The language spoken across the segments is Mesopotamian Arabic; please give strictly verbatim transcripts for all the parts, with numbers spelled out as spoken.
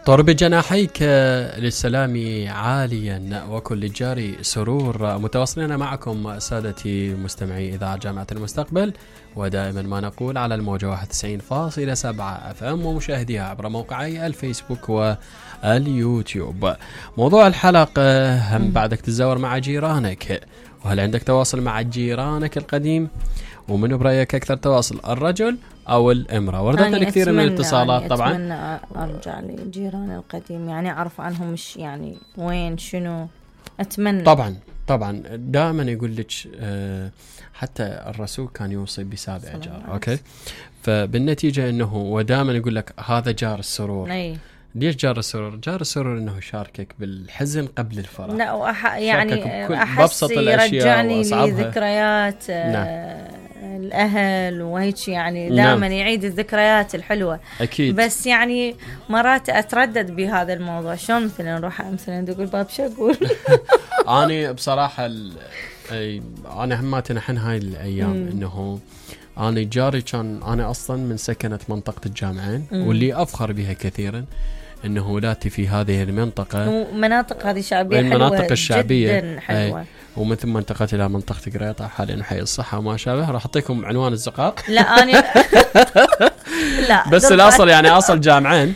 طر بجناحيك للسلام عاليا وكل الجاري سرور. متواصلين معكم سادتي مستمعي إذاعة جامعة المستقبل، ودائما ما نقول على الموجة واحد وتسعين فاصلة سبعة أف أم ومشاهديها عبر موقعي الفيسبوك واليوتيوب. موضوع الحلقة: هم بعدك تتزاور مع جيرانك؟ وهل عندك تواصل مع جيرانك القديم؟ ومن برأيك أكثر تواصل، الرجل أو الامرأة؟ وردتنا كثير من الاتصالات. يعني طبعا أتمنى أرجع لجيران القديم، يعني أعرف عنهم مش يعني وين شنو أتمنى. طبعا طبعا دائما يقول لك آه حتى الرسول كان يوصي بسابع جار. أوكي، فبالنتيجة أنه ودائما يقول لك هذا جار السرور. أي. ليش جار السرور؟ جار السرور انه يشاركك بالحزن قبل الفرح. لا وأح... يعني احس يرجعني لذكريات آه الاهل وهيك، يعني دائما يعيد الذكريات الحلوه. اكيد. بس يعني مرات اتردد بهذا الموضوع، شلون مثلا نروح مثلا تقول باب شقول. انا بصراحه ال... انا هماتي نحن هاي الايام انه انا جاري كان، انا اصلا من سكنه منطقه الجامعين، واللي افخر بها كثيرا انه ولادتي في هذه المنطقه. مناطق هذه شعبيه حلوه، المناطق الشعبيه جدا حلوه. ومن ثم انتقلت الى منطقه قريطه حاليا حي الصحه وما شابه. راح اعطيكم عنوان الزقاق. لا انا لا بس الاصل يعني اصل جامعين.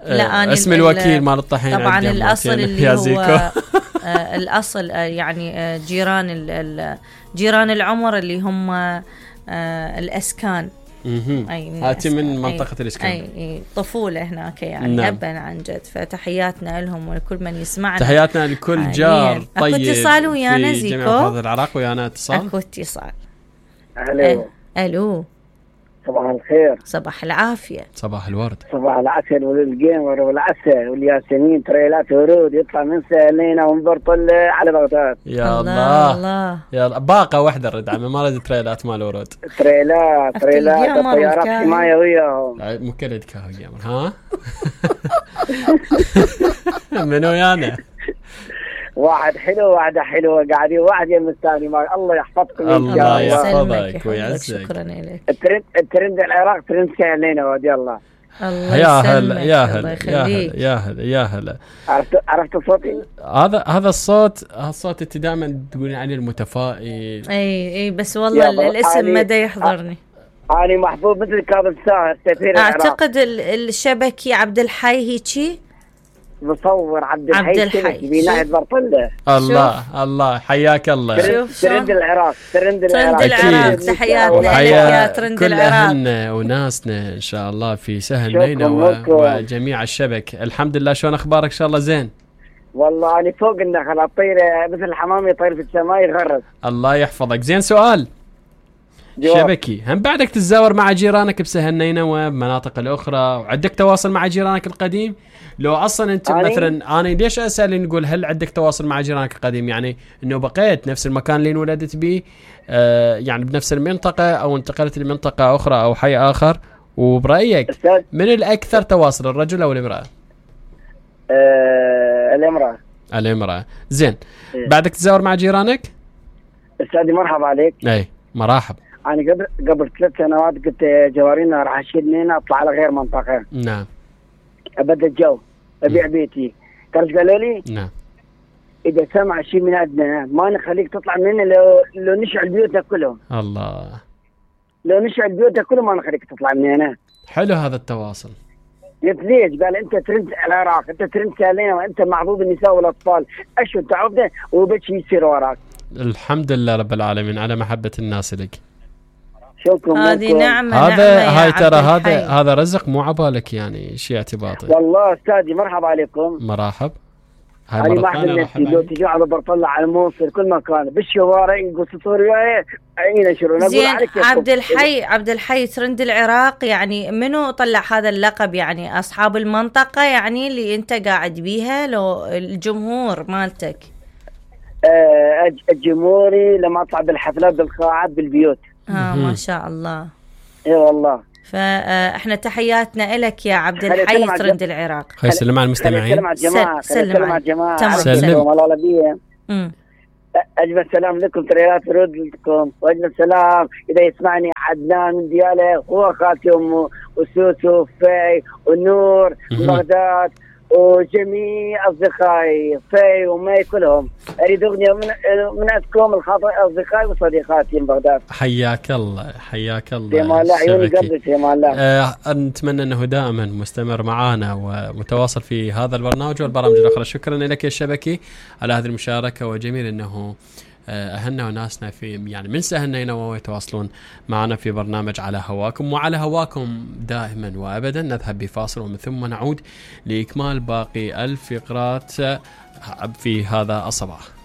لا أنا اسم الوكيل مال الطحين طبعا الاصل اللي هو آه الاصل آه يعني آه جيران جيران العمر اللي هم آه الاسكان. هاتي من منطقة الإسكان. أي, أي طفولة هناك يعني. نعم. أبا عن جد، فتحياتنا لهم ولكل من يسمعنا. تحياتنا لكل جار طيب. أكو اتصال ويانا زيكو؟ في جميع محافظات العراق ويانا اتصال. أكو اتصال. ألو. ألو. صباح الخير. صباح العافية. صباح الورد. صباح العسل والجيمر والعسل والياسمين تريلات ورود يطلع من سهلينا ونبرطل على بغداد. يا الله الله. يا الله. باقة واحدة الرد عمي، ما رد تريلات مال ورود. تريلات تريلات الطيارات حماية وياهم. مكلد كاهو جيمر ها. منو يانا؟ واحد حلو واحدة حلوة قاعدين واحد يم الثاني. ما الله يحفظكم. الله يحفظك ويعزك. شكرا لك. الترند الترند العراق ترند سهلين ودي الله. الله يا هلا يا هلا يا هلا يا هلا يا هلا. عرفت عرفت صوتي؟ هذا هذا الصوت الصوت انت دائما تقولين عليه المتفائل. اي اي بس والله الاسم مدى يحضرني. انا محبوب مثل كاظم ساهر سفير العراق. اعتقد الشبكي عبد الحي هيجي. مصور عبد الحي في ناحية برطلة. الله الله حياك الله. شوف ترند العراق ترند العراق ترند العراق. تحياتنا لك يا ترند العراق. كل أهلنا وناسنا إن شاء الله في سهل نينا وجميع الشبك. الحمد لله. شلون أخبارك؟ إن شاء الله زين. والله أنا فوق النخل أطير مثل الحمام يطير في السماء يغرد. الله يحفظك. زين سؤال جواب. شبكي، هم بعدك تتزاور مع جيرانك بسهل نينا ومناطق الأخرى، وعندك تواصل مع جيرانك القديم؟ لو أصلا أنت أني؟ مثلا أنا ليش أسأل نقول هل عندك تواصل مع جيرانك القديم؟ يعني إنه بقيت نفس المكان اللي انولدت به، آه يعني بنفس المنطقة، أو انتقلت لمنطقة أخرى أو حي آخر. وبرأيك من الأكثر تواصل، الرجل أو الامرأة؟ آه الامرأة. الامرأة. زين. إيه؟ بعدك تتزاور مع جيرانك؟ أستاذي مرحبا عليك. أي مرحب. أنا قبل قبل ثلاث سنوات قلت جوارينا راح أشيل منها أطلع على غير منطقة. نعم. أبدأ الجو أبيع م. بيتي. تعرف قالوا لي؟ نعم. إذا سمع شيء من عندنا ما نخليك تطلع منه لو لو نشعل بيوتك كلهم. الله. لو نشعل بيوتك كلهم ما نخليك تطلع من هنا. حلو هذا التواصل. قلت ليش؟ قال أنت ترند العراق، أنت ترند سالينا، وأنت محظوظ النساء والأطفال. أشو تعبنا وبتش يصير وراك. الحمد لله رب العالمين على محبة الناس لك. هذه نعمة. هذا هاي ترى هذا هذا رزق مو عبالك يعني شيء اعتباطي. والله استاذي مرحبا عليكم. مرحب. هاي مرة ثانية لو تجي على برطلة على الموصل كل مكان بالشوارع يقول سطوري عيني شرون. زين عبد الحي عبد الحي ترند العراق، يعني منو طلع هذا اللقب؟ يعني أصحاب المنطقة يعني اللي أنت قاعد بيها، لو الجمهور مالتك؟ آه الجمهوري لما أطلع بالحفلات بالقاعات بالبيوت. اه ما شاء الله. اي والله. فاحنا تحياتنا لك يا عبد الحي ترند العراق. خلي سلم على المستمعين. سلم على الجماعه. سلم على الجماعه. سلم والله بيه. اجمل سلام لكم، تريات ترد لكم، واجمل سلام اذا يسمعني عدنان من دياله، هو خالتي امه وسوسو وفي ونور وبغداد وجميع اصدقائي في ومي كلهم. اريد اغنيه من من عندكم الخاطر اصدقائي وصديقاتي من بغداد. حياك الله حياك الله. يا الله عيوني قلبك يا الله. أه نتمنى انه دائما مستمر معنا ومتواصل في هذا البرنامج والبرامج الاخرى. شكرا لك يا الشبكي على هذه المشاركه، وجميل انه أهلنا وناسنا في يعني من سهلنا ينووا يتواصلون معنا في برنامج على هواكم، وعلى هواكم دائما وأبدا. نذهب بفاصل ومن ثم نعود لإكمال باقي الفقرات في هذا الصباح.